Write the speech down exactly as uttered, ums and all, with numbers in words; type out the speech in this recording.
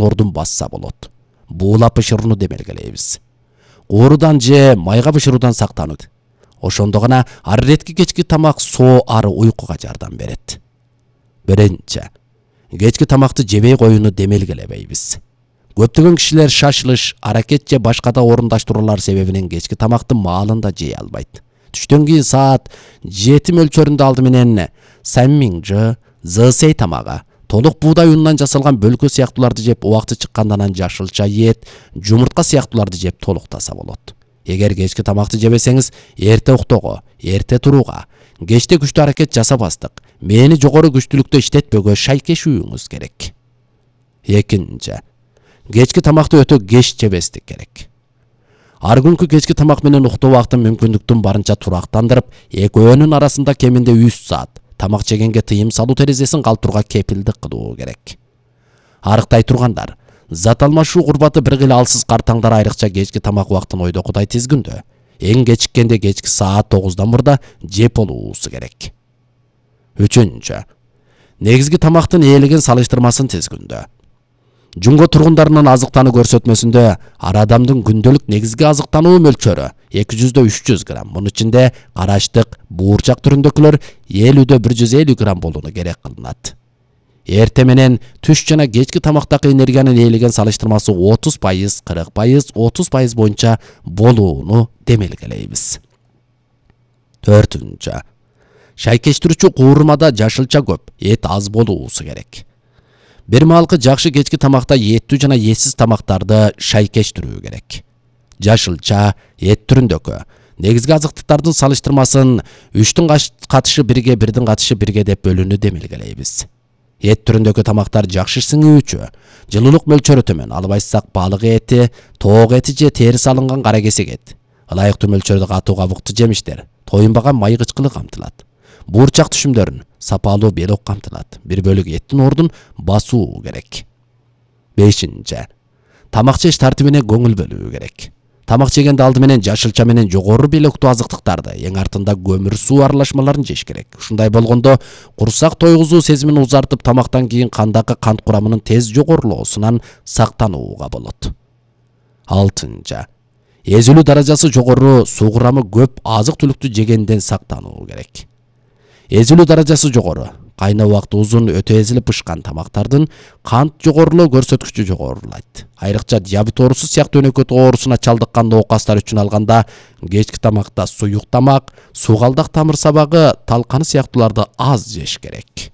ордун басса болот. Буулап бышырууну демелгелейбиз. Куурудан же майга бышыруудан сактанып. Ошондо гана арыретки кечки тамак соо ары уйкуга жардам берет. Биринчи, кечки тамакты жебей коюуну демелгелебейбиз. Көптөгөн кишилер шашылыш, аракет же башка да орундаштыруулар себебинен кечки тамакты маалында жей албайт. Түштөн кийин саат жети мөлчөрүндө алды менен самминжы, зысей тамагы, толук буудай унунан жасалган бөлкө сыяктууларды жеп, убакты чыккандан анан жашылча ет, жумуртка сыяктууларды жеп толуктаса болот. Эгер кечки тамакты жебесеңиз, эрте уктоого, эрте турууга, кечте күчтүү аракет жасабастык, мээни жогору күчтүүлүктө иштетпөөгө шайкешүүңүз керек. Экинчи, кечки тамакты өтө кеч жебестик керек. Ар күнкү кечки тамак менен уктоо убактын мүмкүндүктүн барынча турактандырып, экөөнүн арасында кеминде үч саат тамак жегенге тыйым салуу терезесин калтырууга кепилдик кылуу керек. Арыктай тургандар, зат алмашуу курбаты бир кыйла алсыз картаңдар айрыкча кечки тамак убактын ойдокудай тизгүндө, эң кечиккенде кечки саат тогуздан мурда жеп болуусу керек. Үчүнчү, негизги тамактын ээлеген салыштырмасын тизгүндө. Жумго тургундарынын азыктануу көрсөтмөсүндө ар адамдын күндөлүк негизги азыктануу мөлчөрү эки жүздөн үч жүз грамм. Мунун ичинде караштык, буурчак түрүндөгүлөр элүүдөн бир жүз элүү грамм болууну керек кылынат. Эрте менен түш жана кечки тамактагы энергиянын ээлеген салыштырмасы отуз пайыз, кырк пайыз, отуз пайыз боюнча болууну демелгелейбиз. Төртүнчү, шайкештирүүчү куурмада жашылча көп, эт аз болуусу керек. Бир маалкы жакшы кечки тамакта еттүү жана этсиз тамактарды шайкештирүү керек. Жашылча, эт түрүндөгү негизги азыктыктардын салыштырмасын үчтүн катышы бирге, бирдин катышы бирге деп бөлүүнү демелгелейбиз. Эт түрүндөгү тамактар жакшы сиңүүчү, жылуулук мөлчөрү төмөн, албайсак балык эти, тоок эти же териси алынган кара кесек эт, ылайыктуу мөлчөрдө катуу кабыктуу жемиштер, тоюнбаган май кычкылы камтылат. Буурчак түшүмдөрүн сапалуу белок камтылат. Бир бөлүк эттин ордун басуу керек. Бешинчи, тамак жеш тартибине көңүл бөлүү керек. Тамак жегенде алды менен жашылча менен жогору белоктуу азыктыктарды, эң артында көмүр суу аралашмаларын жеш керек. Ушундай болгондо курсак тойгузуу сезимин узартып, тамактан кийин кандагы кант курамынын тез жогорулоосунан сактанууга болот. Алтынчы, эзилүү даражасы жогору, суу курамы көп азык-түлүктү жегенден сактануу керек. Эзилүү даражасы жогору, кайноо убакыты узун, өтө эзилип бышкан тамактардын кант жогорулоо көрсөткүчү жогорулайт. Айрыкча диабет оорусу сыяктуу өнөкөт оорусуна чалдыккан оокастар үчүн алганда кечки тамакта суюк тамак, суугалдак тамыр сабагы, талканы сыяктууларды аз жеш керек.